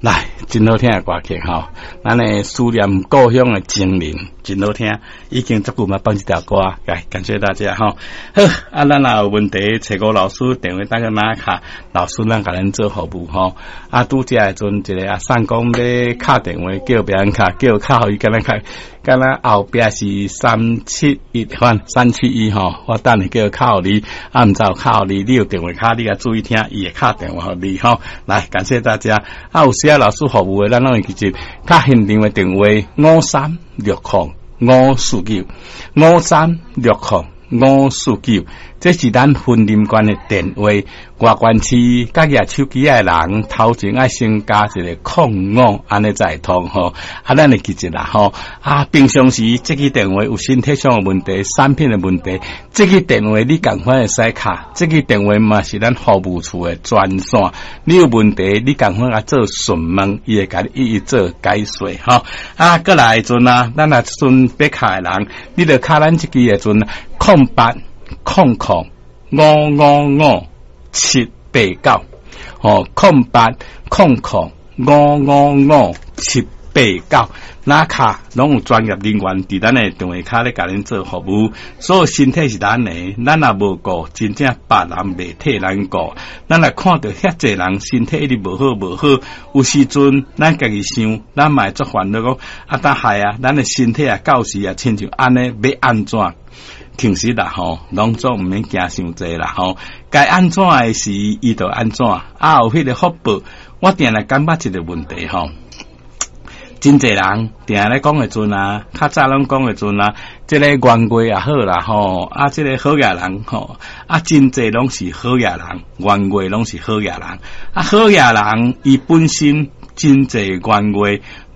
來，真好聽的歌曲吼，咱的思念故鄉的情人，真好聽，已經足久嘛放這條歌，來感謝大家吼。好，啊，咱若有問題，揣吳老師電話打去哪卡，老師咱共恁做服務吼。啊，拄才的陣一個阿送講欲敲電話叫別人敲，叫敲予伊敢若較，敢若後壁是371，反371吼，我等下叫敲予你，啊，毋知有敲予你，你有電話卡，你較注意聽，伊會敲電話予你吼。來，感謝大家。啊，有需要老師服務的，咱攏會記得敲現場的電話5360549，5360549，這是咱雲林縣的電話。外縣市佮舉手機的人，頭前愛先加一個空五，按呢才會通吼。啊，咱會記得啦吼。啊，平常時這支電話有身體上的問題、產品的問題，這支電話你仝款會使敲，這支電話嘛是咱服務處的專線。你有問題，你仝款來做詢問，伊會共你一一做解說吼。啊，過來的陣啊，咱若陣欲敲的人，你著敲咱這支的陣0800555789，吼，0800555789，哪敲攏有專業人員佇咱的電話卡咧，共恁做服務。所有身體是咱的，咱若無顧，真正別人袂替咱顧。咱若看著遐濟人身體一直無好無好，有時陣咱家己想，咱嘛會足煩惱講，啊，當害啊，咱的身體啊，到時啊，親像按呢，欲按怎？其實啦吼，攏總毋免驚傷濟啦吼，該按怎的時，伊就按怎，啊有彼個福報。我定來感覺一個問題吼，真濟人定咧講的陣啊，較早攏講的陣啊，這個冤家也好啦吼，啊這個好額人吼，啊真濟攏是好額人，冤家攏是好額人，啊好額人伊本身真濟冤家，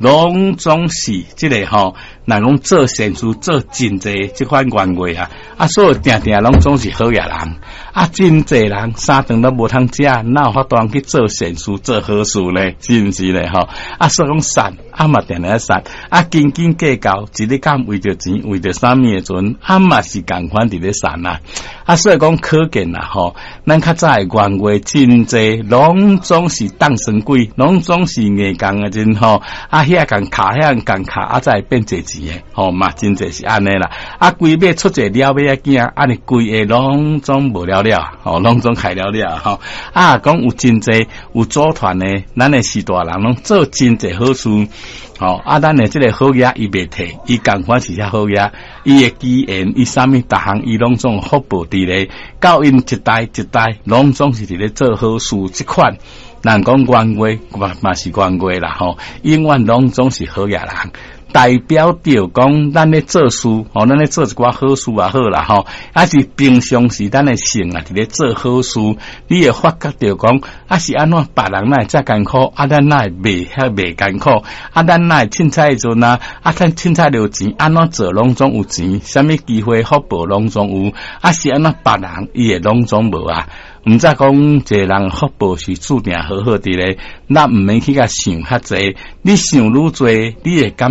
攏總是這個吼，若講做善事做真濟這款冤家啊，啊所以定定攏總是好額人，啊真濟人三頓都無通食，哪有法度去做善事做好事呢？是毋是咧？吼，啊所以講善，啊嘛定定善，啊斤斤計較，一日敢為著錢為著啥物的陣，啊嘛是仝款佇咧善啊，啊所以講可見啦吼，咱較早的冤家真濟，攏總是當神鬼，攏總是硬剛的陣吼，啊遐共卡遐共卡，啊才會變濟錢的，吼嘛真濟是按呢啦，啊規尾出一個了尾仔囝，按呢規个攏總無了了，吼攏總開了了，吼啊講有真濟有組團的，咱的序大人攏做真濟好事，吼啊咱的這個好額伊袂退，伊仝款是遐好額，伊的機緣，伊啥物逐項伊攏總福報佇咧，到𪜶一代一代攏總是佇咧做好事這款。人講冤家嘛嘛是冤家啦吼，永遠攏總是好額人，代表著講咱咧做事，吼，咱咧做一寡好事也好啦吼，還是平常時咱的性啊，佇咧做好事，你會發覺著講，啊是按怎別人哪會遮艱苦，啊咱哪會袂遐袂艱苦，啊咱哪會凊彩的陣啊，啊趁凊彩著錢，按怎做攏總有錢，啥物機會福報攏總有，啊是按怎別人伊會攏總無啊？毋知講一個人福報是注定好好佇咧，咱毋免去共想較濟，你想愈濟，你會感。